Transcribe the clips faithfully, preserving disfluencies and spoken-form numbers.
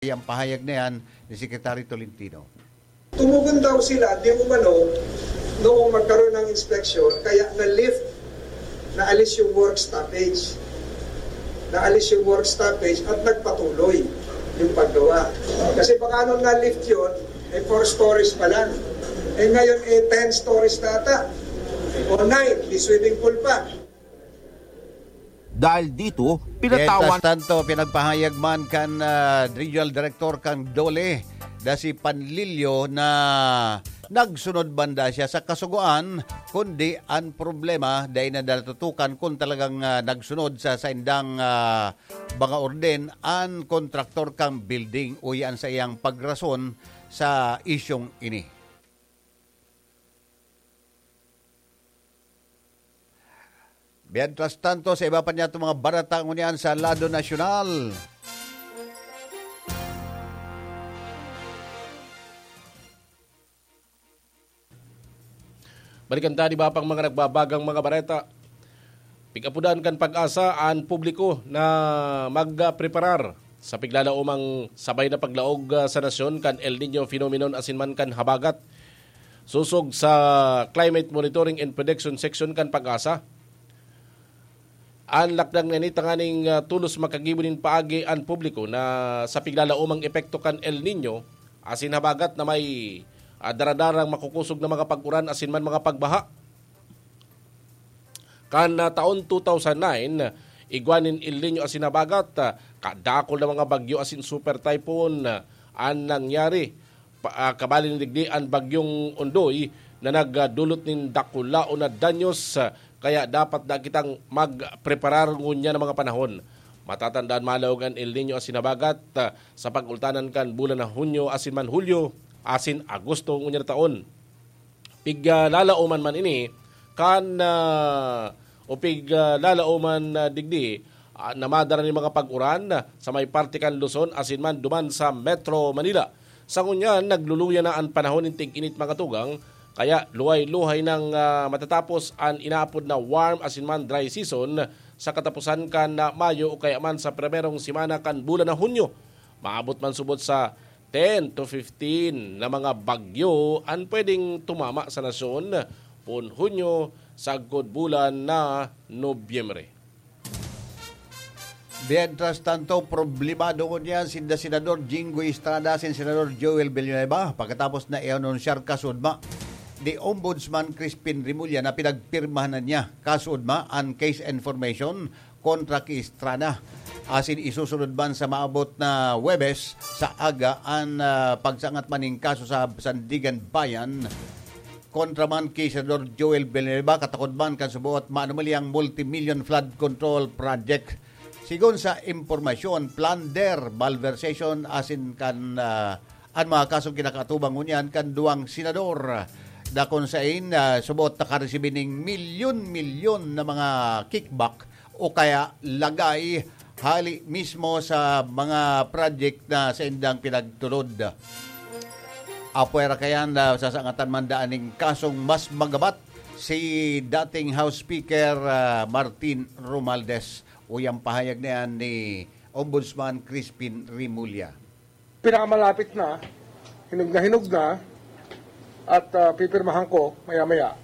Yang pahayag na yan ni Secretary Tolentino. Tumugon daw sila, di umano, noong magkaroon ng inspeksyon, kaya na-lift, naalis yung work stoppage. Naalis yung work stoppage at nagpatuloy yung paggawa. Kasi baka nung na-lift yun, eh, four stories pa lang. Eh, ngayon, eh, ten stories na ata. O nine, may swimming pool pa. Dahil dito, pinatawan. Mientras tanto, pinagpahayag man kan ah, Regional Director kan DOLE na si Panlilio na nagsunod banda siya sa kasugoan, kundi ang problema dahil na natutukan kung talagang ah, nagsunod sa saindang ah, mga orden ang kontraktor kang building o yan sa iyang pagrason sa isyong ini. Mientras tanto, sa iba pa niya itong mga barata ngunyan sa lado nasyonal. Balikan ta, di ba, pang mga nagbabagang mga bareta. Pig-apudan kan pag-asa an publiko na magpreparar sa piglalaomang sabay na paglaog ah, sa nasyon kan El Nino phenomenon asin man kan habagat. Sosog sa Climate Monitoring and Prediction Section kan pag-asa, an lakdang na ini tanganing ah, tolos makagibo nin paagi an publiko na sa piglalaomang epekto kan El Nino asin habagat na may ah, daradarang makukosog na mga pag-uran asin man mga pagbaha. Kan ah, taon two thousand nine, igwa nin El Nino asin habagat, ah, kadakul na mga bagyo asin super typhoon ah, an nangyari. Pa, ah, kabali nin digdi an bagyong Ondoy na nagdulot nin dakulaon na danyos, ah, kaya dapat na kitang magpreparar ngunyan na mga panahon. Matatandaan, malaog an El Nino asin habagat ah, sa pag-ultanan kan bulan na Hunyo asin man Hulyo asin Agosto ngunyan na taon. Piglalaoman man ini kan ah, o piglalaoman ah, digdi ah, na madara nin mga pag-uran sa may parte kan Luzon asin man duman sa Metro Manila. Sa ngunyan, nagluluya na an panahon nin tig-init, mga tugang, kaya luhay-luhay nang ah, matatapos an inaapod na warm asin man dry season sa kataposan kan ah, Mayo o kaya man sa primerong semana kan bulan na Hunyo. Maabot man subot sa ten to fifteen na mga bagyo an pwedeng tumama sa nasyon poon Hunyo sagkod bulan na Nobyembre. Mientras tanto, problemado ngunyan sinda Senador Jinggoy Estrada asin Senador Joel Villanueva pagkatapos na i-anunsyar kasudma ni Ombudsman Crispin Remulla na pinagpirmahan na niya kasudma an case information kontra ki Estrada. Asin isusunod man sa maabot na Huwebes sa aga an ah, pagsangat man nin kaso sa Sandiganbayan kontra man ki Senador Joel Villanueva katakod man kan suboot maanomalyang multimillion flood control project. Sigon sa impormasyon, plunder, malversation asin kan ah, an mga kasong kinakaatubang ngunyan kan duwang senador na kun sain ah, suboot nakaresibi ning milyon-milyon na mga kickback o kaya lagay hali mismo sa mga project na saindang pinagtulod. Apwera kayan na sasangatan man daan ning kasong mas magabat si dating House Speaker ah, Martin Romualdez. Uyang pahayag na yan ni Ombudsman Crispin Remulla. Pinakamalapit na, hinog na hinog na, at ah, pipirmahan ko maya-maya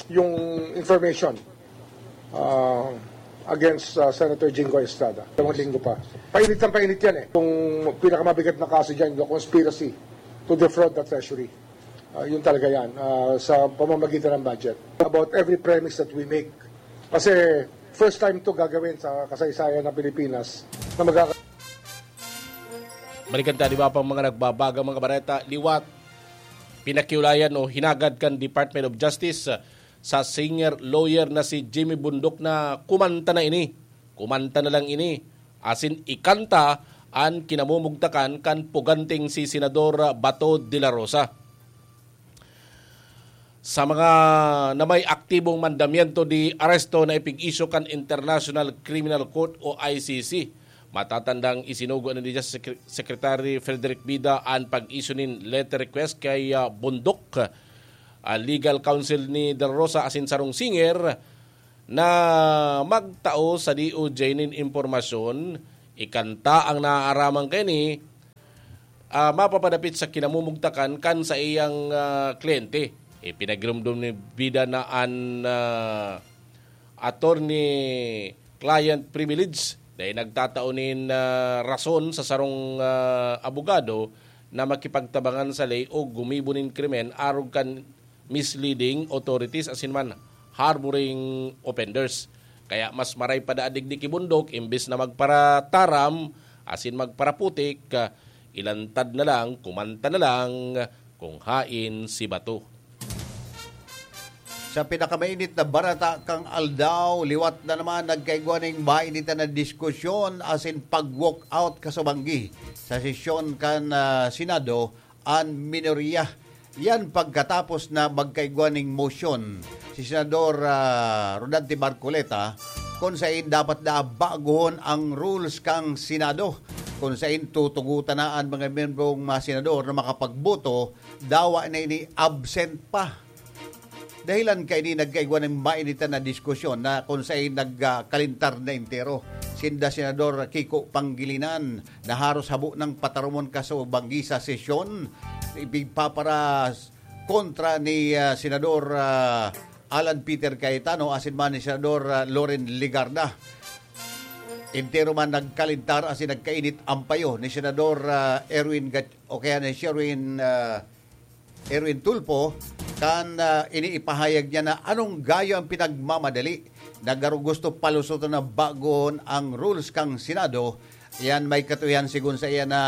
yung information ah, against ah, Senator Jinggoy Estrada. Dalawang linggo pa. Painit ang painit yan eh. Kung pinakamabigat na kaso dyan, yung conspiracy to defraud the treasury. Ah, yun talaga yan, ah, sa pamamagitan ng budget. About every premise that we make. Kasi first time to gagawin sa kasaysayan ng Pilipinas na magkaka- Balikan ta, di ba, pang mga nagbabagang mga bareta, liwat, pinakiulayan o hinagad kan Department of Justice sa singer-lawyer na si Jimmy Bundok na kumanta na ini. Kumanta na lang ini. Asin ikanta an kinamumugtakan kan puganting si Senador Bato de la Rosa. Sa mga na may aktibong mandamiento de aresto na ipig-isyu kan International Criminal Court o I C C, matatandang isinugo na ni Justice Secre- Secretary Frederick Bida an pag-isyu nin letter request kay ah, Bundok, ah, legal counsel ni De La Rosa asin sarong singer na magtao sa D O J nin impormasyon, ikanta ang naaaraman kaini ah, mapapadapit sa kinamumugtakan kan saiyang, ah, kliyente. Ipinagirumdom ni Vida na an, ah, attorney-client privilege dai nagtatao nin, ah, rason sa sarong, ah, abogado na makipagtabangan sa ley o gumibo nin krimen arog kan misleading authorities asin man harboring offenders. Kaya mas maray pa daa digdi ki bundok, imbes na magparataram asin magparaputik, ah, ilantad na lang, kumanta na lang, kung hain si bato. Sa pinakamainit na barata kan aldaw, liwat na naman nagkaigwa ning mainitan na diskusyon asin pag-walkout kasubanggi sa sesyon kan, ah, Senado an minorya. Yan pagkatapos na magkaigwa ning motion si Senador, ah, Rodante Marcoleta kung sain dapat na bagohon ang rules kan Senado, kung sain tutugutan na an mga membrong mga senador na makapagboto, dawa na ini absent pa. Dahilan kaini nagkaigwa ning mainitan na diskusyon na kung sain nagkalintar na entero sinda Senador Kiko Pangilinan na haros habo nang patarumon kasubanggi sa sesyon, ipigpapara kontra ni, ah, Senador, ah, Alan Peter Cayetano asin man ni Senador, ah, Loren Legarda. Entero man nagkalintar asin nagkainit ang payo ni Senador, ah, Erwin Gat-, o kaya ni Sherwin, ah, Erwin Tulfo, kan, ah, iniipahayag niya na anong gayo ang pinagmamadali na garo gusto palusoton na bagohon ang rules kan Senado. Yan may katuyan sigon sa iya na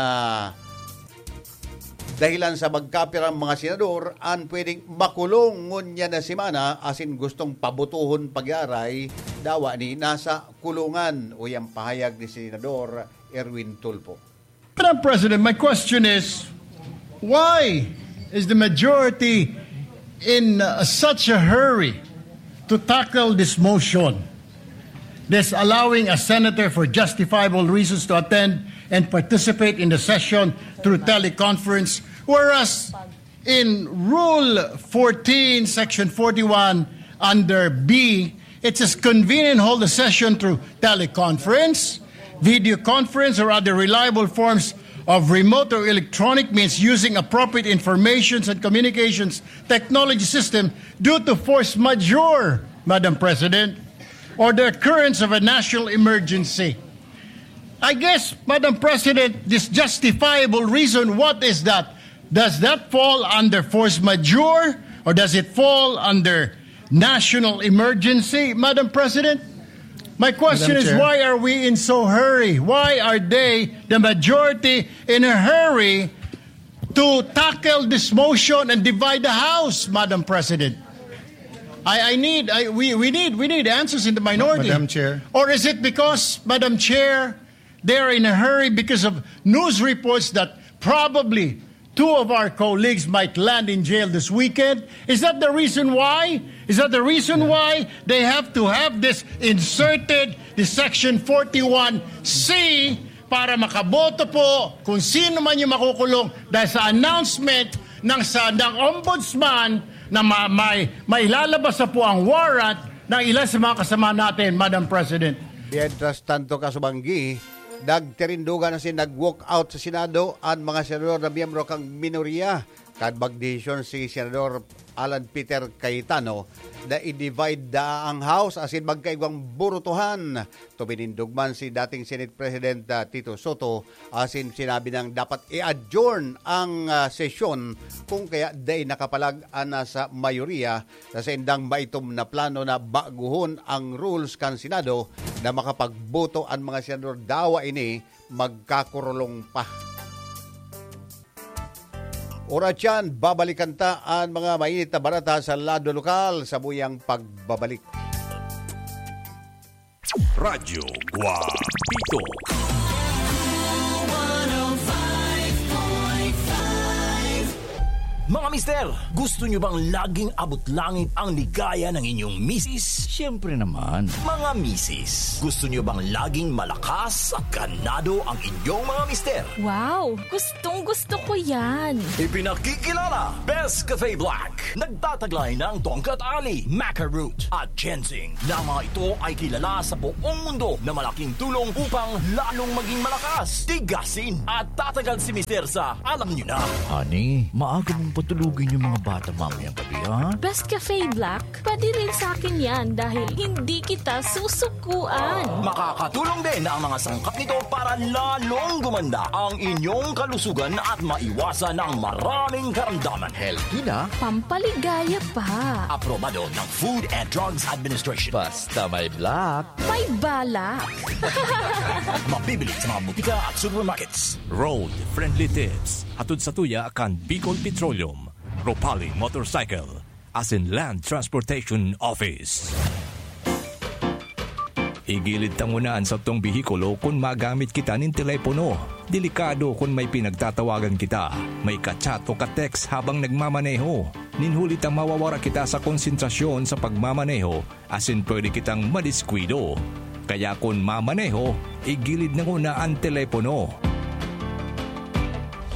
dahilan sa magkapirang mga senador an pwedeng makulong ngunyan na semana asin gustong pabutohon pag-aray, dawa ni nasa kulungan, o yang pahayag ni Senador Erwin Tulfo. Madam President, my question is, why is the majority in uh, such a hurry to tackle this motion, this allowing a senator for justifiable reasons to attend and participate in the session through teleconference, whereas in Rule fourteen, Section forty-one, under B, it says convene and hold the session through teleconference, video conference, or other reliable forms of remote or electronic means using appropriate informations and communications technology system due to force majeure, Madam President, or the occurrence of a national emergency. I guess, Madam President, this justifiable reason, what is that? Does that fall under force majeure or does it fall under national emergency, Madam President? My question Madam is, Chair. Why are we in so hurry? Why are they, the majority, in a hurry to tackle this motion and divide the House, Madam President? I, I need, I, we, we need, we need answers in the minority. Madam Chair. Or is it because, Madam Chair, they are in a hurry because of news reports that probably two of our colleagues might land in jail this weekend? Is that the reason why? Is that the reason why they have to have this inserted, the Section forty-one C, para makaboto po kung sino man yung makukulong dahil sa announcement ng sa ng ombudsman na ma, may mailalabas na po ang warrant ng ilan sa mga kasama natin, Madam President. Mientras tanto, kasubanggi, nagtirindugan na si nag-walk out sa Senado ang mga senador na miyembro kang minorya kan magdesisyon si Senador Alan Peter Cayetano na i-divide da ang House asin magkaigwang burutuhan. Tuminindog man si dating Senate President, ah, Tito Soto asin sinabi nang dapat i-adjourn ang, ah, sesyon kung kaya dai nakapalag an nasa mayoriya sa saindang maitom na plano na baguhon ang rules kan Senado na makapagboto an mga senador dawa ini magkakurulong pa. Oras yan, babalikan ta an mga mainit na barata sa lado lokal sa buyang pagbabalik. Radyo Guapito. Mga Mister, gusto nyo bang laging abot langit ang ligaya ng inyong misis? Siyempre naman. Mga misis, gusto nyo bang laging malakas at ganado ang inyong mga mister? Wow! Gustong gusto ko yan! Ipinakikilala, Best Cafe Black. Nagtataglay ng tongkat ali, maca root, at ginseng, na mga ito ay kilala sa buong mundo na malaking tulong upang lalong maging malakas, tigasin, at tatagal si Mister sa alam nyo na. Honey, maaga mong patulugin yung mga bata mamayang gabi, ha? Best Cafe Black, pwede rin sa akin yan dahil hindi kita susukuan. Makakatulong din ang mga sangkap nito para lalong gumanda ang inyong kalusugan at maiwasan ang maraming karamdaman. Healthy na. Pampaligaya pa. Aprobado ng Food and Drugs Administration. Basta may black. May balak. Mabibili sa mga butika at supermarkets. Road Friendly Tips. Hatod sa tuya kan Bicol Petroleum, Ropali Motorcycle, asin Land Transportation Office. Igilid ta nguna an satong behikulo kun magamit kita nin telepono. Delikado kun may pinagtatawagan kita, may ka-chat o ka-text habang nagmamaneho. Nin huli ta mawawara kita sa konsentrasyon sa pagmamaneho asin pwede kitang madiskuido. Kaya kun mamaneho, igilid na nguna an telepono.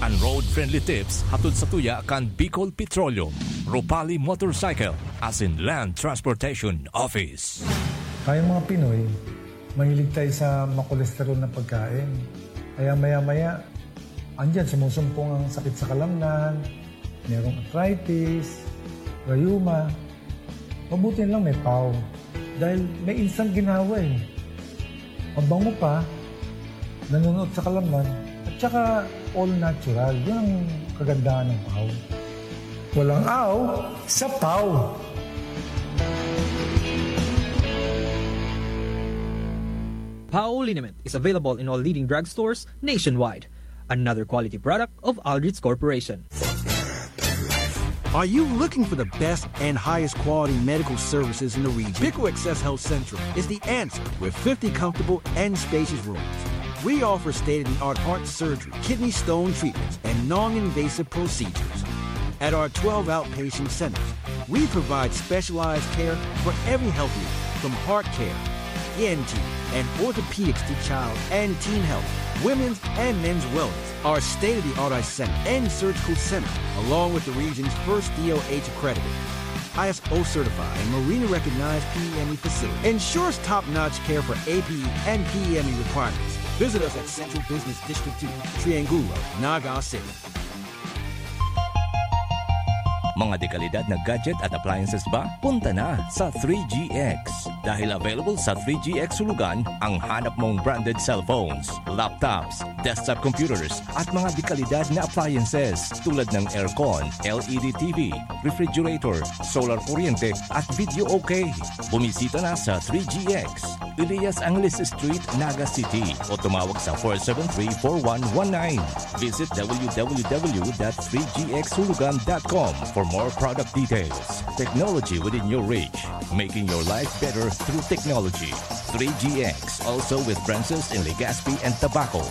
An Road Friendly Tips hatod sa tuya kan Bicol Petroleum, Ropali Motorcycle, asin Land Transportation Office. Tayong mga Pinoy, mahilig tayo sa makolesterol na pagkain. Kaya maya-maya, andyan, sumusumpong ang sakit sa kalamnan, merong arthritis, rayuma. Mabuti na lang may pau. Dahil may instant ginhawa eh. Mabango pa, nanunuot sa kalamnan, at saka all natural. Yun ang kagandahan ng pau. Walang aw sa pau. Pau liniment is available in all leading drugstores nationwide. Another quality product of Aldrich Corporation. Are you looking for the best and highest quality medical services in the region? Pico Access Health Central is the answer with fifty comfortable and spacious rooms. We offer state-of-the-art heart surgery, kidney stone treatments, and non-invasive procedures. At our twelve outpatient centers, we provide specialized care for every health need, from heart care, E N T, and orthopedics to child and teen health, women's and men's wellness. Our state-of-the-art eye center and surgical center, along with the region's first D O H accredited, I S O certified, and Marina recognized P M E facility, ensures top-notch care for A P E and P M E requirements. Visit us at Central Business District two, Triangulo, Naga City. Mga dekalidad na gadget at appliances ba? Punta na sa three G X. Dahil available sa three G X Hulugan ang hanap mong branded cellphones, laptops, desktop computers, at mga dekalidad na appliances tulad ng aircon, L E D T V, refrigerator, solar kuryente, at video okay. Bumisita na sa three G X, Elias Angeles Street, Naga City, o tumawag sa four seven three, four one one nine. Visit W W W dot three G X hulugan dot com for more product details. Technology within your reach, making your life better through technology. Three G X, also with branches in Legazpi and Tabaco.